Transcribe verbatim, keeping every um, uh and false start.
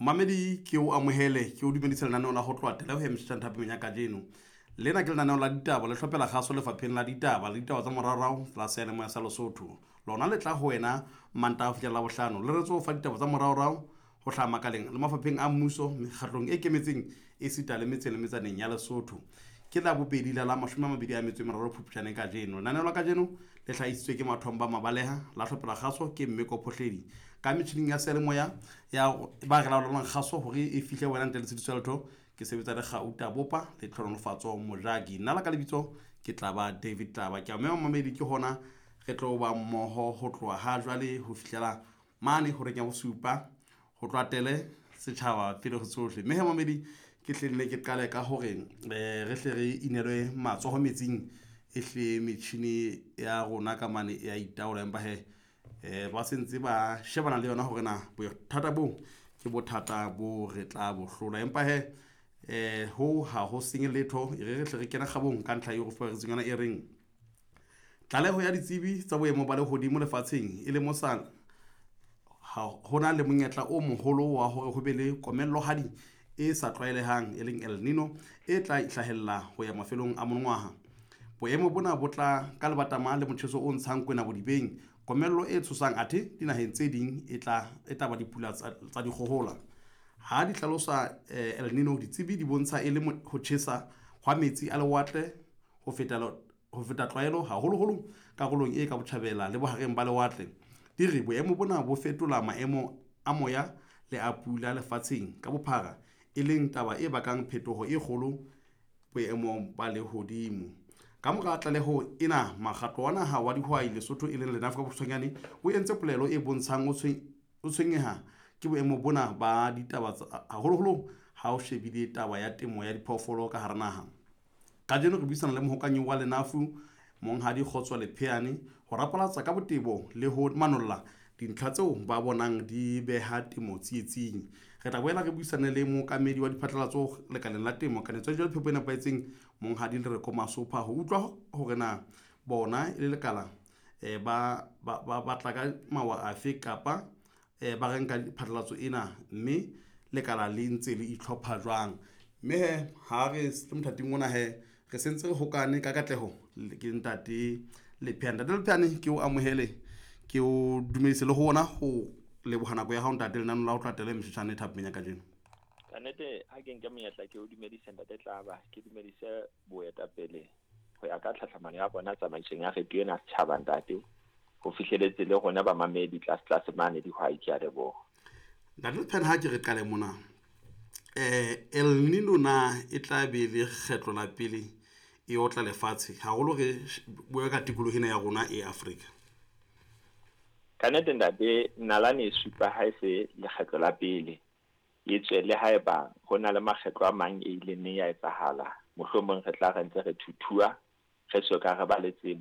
Mamedi, ke o amohele, ke o dumedise lenaneo la ho tloha tele ho mshan thapeng ya kajeno. Lena ke lenaneo la ditaba le hlophela kgaso lefapheng la ditaba le ditaba tsa moraorao la seyalemoya sa Lesotho. Lona le tla ho wena Mantaha ho fihlela Labohlano, le retse ho fa ditaba tsa moraorao ho hlaha makaleng le mafapheng a mmuso, mekgatlong e ikemetseng esita le metseng le metsaneng ya Lesotho. Ke la bobedi la la mashome a mabedi a metso e meraro Phupjane kajeno. Lenaneo la kajeno le hlahisitswe ke Mathomba Mabaleha, la hlophela kgaso ke Mmeko Phohledi. Ka metjhining ya seyalemoya ya ba re laolang kgaso hore e fihle wena ntle le tshitiso ya letho, ke sebetsa le Gauta Bopa le Tlhonolofatso Mojaki. Nna la ka lebitso ke tla ba David Tlaba. Ke a mema mamedi, ke hona re tlo ba mmoho ho tloha ha jwale ho fihlela mane horeng ya bosupa, ho tloha tele setjhaba pele ho tsohle. Mme he mamedi, ke hle nne ke qale ka hore eh, re hle re inelwe matsoho metsing, e hle metjhini ya rona ka mane e ya itaola, empa he eh, ba sentse ba shebana le yona hore na bothata bo ke bothata bo re tla bo hlola. Empa he eh, ho ha ho senye letho, e re re hle re kena kgabong ka ntlha eo re fuperetseng yona e reng tlaleho ya ditsebi tsa boemo ba lehodimo lefatsheng e lemosa ha hona le monyetla o moholo wa hore ho be le komellohadi e sa tlwaelehang, e leng El Nino, e tla hlahella ho ya mafelong a monongwaha. Boemo bona bo tla ka lebatama le motjheso o ntshang kwena bodibeng, komello e tshosang, athe dinaheng tse ding e tla e tla ba dipula tsa tsa dikgohola. Ha di hlalosa eh, El Nino, ditsebi di bontsha e le mo- ho tjhesa hwa metsi a lewatle ho feta ho feta tlwaelo, haholoholo karolong e ka botjhabela le bohareng ba lewatle. Di re boemo bona bo fetola maemo a moya le a pula lefatsheng ka bophara, e leng taba e bakang phetoho e kgolo boemong ba lehodimo. Ka mora tlaleho ena, mokgatlo wa naha wa dihwai Lesotho, e leng Lenafu ka bokgutshwanyane, o entse polelo e bontshang o tshwen- o tshwenyeha ke boemo bona ba ditaba tsa- haholoholo ha o shebile taba ya temo ya diphoofolo ka hara naha. Kajeno re buisana le mohokanyi wa Lenafu, Monghadi Kgotso Lepheane, ho rapalatsa ka botebo le ho manolla dintlha tseo ba bonang di beha temo tsietsing. Re tla boela re buisane le mookamedi wa diphatlalatso lekaleng la temo, kanetso ya dijo le phepo e nepahetseng, Monghadi Lereko Masopha, ho utlwa hore na bona e le lekala eh, ba ba ba batla ka mawa afe kapa eh, ba re nka phatlalatso ena, mme lekala le ntse le itlhopha jwang. Mme he ha re le mothating ona he re sentse re hokane ka katleho le- ke ntate Lepheane. Ntate Lepheane, ke o amohele, ke o dumedise le ho ona ho leboha nako ya hao ntate lenaneo la ho tloha tele mesheshane thapeng ya kajeno. Kannete ha ke nke monyetla ke o dumedise ntate Tlaba, ke dumedise boetapele ho ya ka tlhatlhamano ya bona tsamaisong ya radio ena setjhaba ntate, ho fihleletse le rona bamamedi tlase tlase mane dihwai, ke a leboha. Ntate Lepheane, ha ke re qale mona, eh El Nino na e tla be le kgetlo la pele e otla lefatshe, haholo re sh- bua ka tikoloho ena ya rona e Afrika? Kannete ntate, nalane e supa ha e se lekgetlo la pele e tswe, le haeba ho na le makgetlo a mang e ileng neng ya etsahala, mohlomong re tla re ntse re thuthua re soka re ba le tsebo.